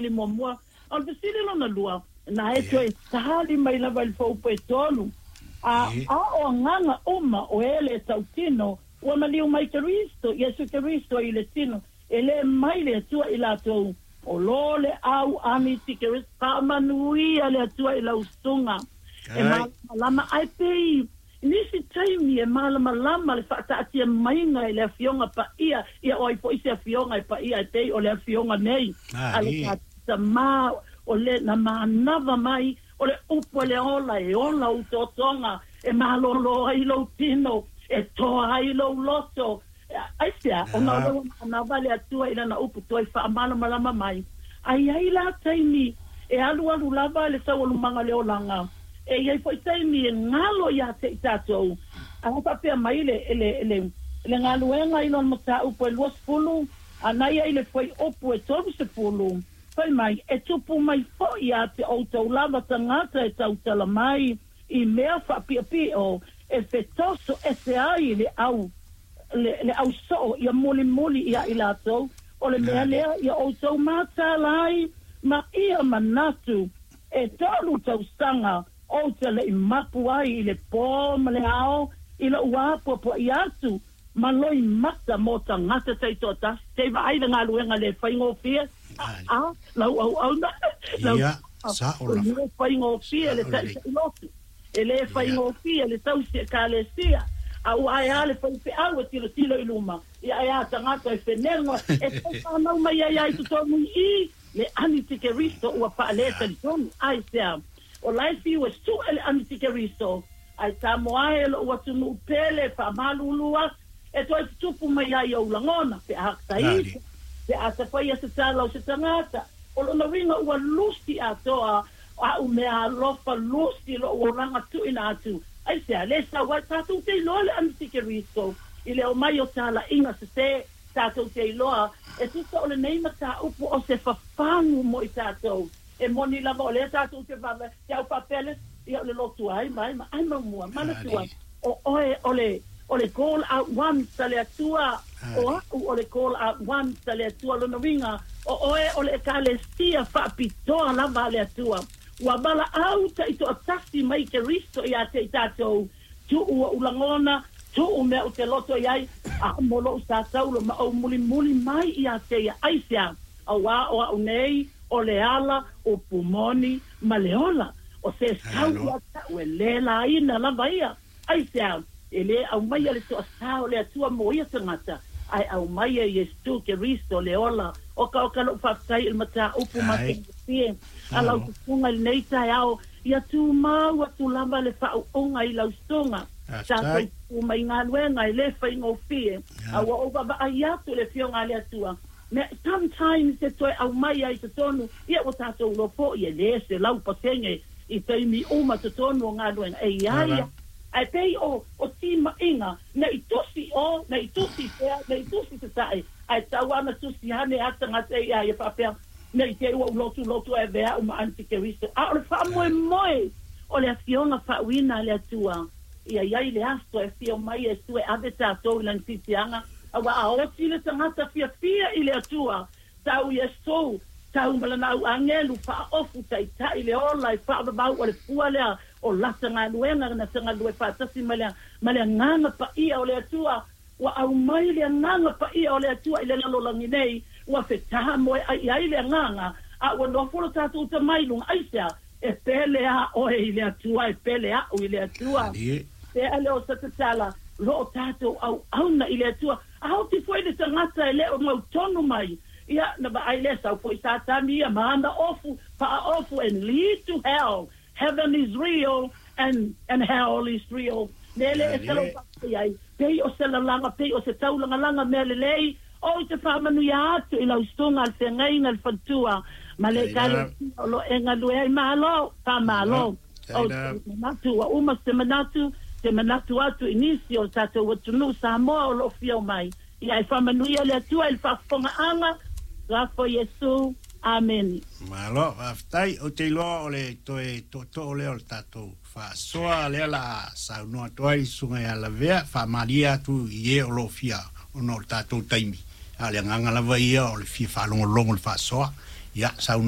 fesili muamua. A o le fesili lona lua, na e toe tali mai lava i le fuaiupu e 3, a o agaga uma o e le tautino ua maliu mai Keriso, Iesu Keriso i le tino, e le mai le Atua i latou, o lo le au anitikeriso, faamanuia le Atua i lau susuga. E malamalama ai pei nisi taimi e malamalama le faataatia maiga i le Afioga Paia, ia o ai foi se Afioga e paia e pei o le Afioga nei a le tatou Tama, o le na manava mai, o le upu e le ola, e ola ou totoga, e malolo ai lou tino, e toa ai lou loto. Aisea? Ona o lea ua manava le Atua i lana upu toe faamalamalama mai. A i ai la taimi e alualu lava le taualumaga o le olaga, e i ai foi taimi e galo ia te i tatou. A faapea mai le, le, le, le galuega i lona mataupu e 20, a na ia i le fuaiupu e 30, fai mai, e tupu mai foi ia te outou lava tagata e tautala mai i mea faapiopio e fetoso ese ai le au le au soo ia mulimuli ia i latou, o le mea lea ia outou mataala ai ma ia manatu e 3 tausaga ou te le i mapu ai i le pō ma le ao i lou apoapoai atu ma loimata mo tagata taitoatasi. Te vaai le galuega le faigofie, a lau auauna, lau le faigofie le taʻitaʻi lotu, e le faigofie le tausi ekalesia, a ua ae a le faifeau e tilotilo i luma, ia ae a tagata e fenego e tau whanau mai ai ai totonu i i le anitikeriso ua faaletalitonu. Aisea? O la e fiu e suʻe le anitikeriso, ae Samoa e lou atunuu pele faamalulu atu, e toe tutupu mai ai ou lagona, pe a taita, pe a tafaia se tala o se tagata, o lona uiga ua lusi atoa a'u mea alofa, lusi lo'u olaga tuuina atu. Aisea? Le sau ai tatou te iloa le anitikeriso i le omai o talaiga sesē, tatou te iloa e tusa o lenei mataupu o se fafagu mo i tatou. E moni lava o lea tatou te vaavaai, te au faapea le, ia o le lotu ai ma ai ma ai maumua, manatua, o oe o le, o le call out ones a le Atua, o a'u o le call out ones a le Atua, lona uiga, o oe o le ekalesia faapitoa lava a le Atua. Ua valaau taitoatasi mai Keriso ia te i tatou, tuu ou lagona, tuu mea ou te loto i ai, a mo lou sa taulo ma ou mulimuli mai ia te ia. Aisea? Auā o a'u nei o le ala, upu moni, ma le ola, o se sau ia te a'u e le laina lava ia. Aisea? E le aumaia le toasā o le Atua mo ia tagata, ae aumaia Iesu Keriso le ola. Okaoka lou faafetai i le mataupu matagofie a lau susuga i lenei taeao, ia tumau atu lava le faauuga i lau susuga. Tatou tu mai galuega e le faigofie, a ua ou vaavaai atu i le Afioga a le Atua, mea sometimes e toe aumai ai totonu, ia ua tatou iloa foi e le 100% i taimi uma totonu o galuega e i ai, ae pei o timaiga, nei tusi o, nei tusi pea, nei tusi tataʻi, ae tau ana tusi ane a tagata ia ia faapea, nei te i ua ou lotu e avea a'u ma antikeriso. A o le faamoemoe o le Afioga faauuina a le Atua, ia i ai le aso e afio mai Iesu e ave tatou i lana siisiaga, auā a oti le tagata fiafia i le Atua, tau Iesu, tau ma lana au agelu faaofu taʻitaʻi le ola e faavavau o le fua lea o lata galuega na tagalue faatasi ma le ma le agaga paia o le Atua. Ua aumai le agaga paia o le Atua i le lalolagi nei, ua fetamoe ai i ai le agaga, a ua nofo lo tatou tama i luga. Aisea? E pele a oe i le Atua, e pele a'u i le Atua. Pea lea o se tatala, lo o tatou auauna i le Atua. A oti foi le tagata e le o mautonu mai, ia, na vaai lea sau foi Satani ia ma ana ofu, faaofu and lead to hell. Heaven is real and and hell is real. Lele e se lau ai, pei o se lalaga, pei o se taulagalaga mea lelei, o i te faamanuia atu i lau susuga le feagaiga le faletua, ma le ekalesia o lo o e galue ai. Malo, faamalo. O te manatu ua uma se manatu, te manatu atu i nisi o tatou atunuu Samoa o lo o fia omai. Ia e faamanuia le Atua i le faafofogaaga, lafo Iesu. Amene. Malo, faafetai. Ou te iloa o le toe tootoo lea o le tatou faasoa lea la saunoa atu ai le susuga ia Lavea, faamalie atu i e o lo o fia ona o le tatou taimi. A o le agaga lava ia o le fia faalogologo i le faasoa. Ia, saunoa.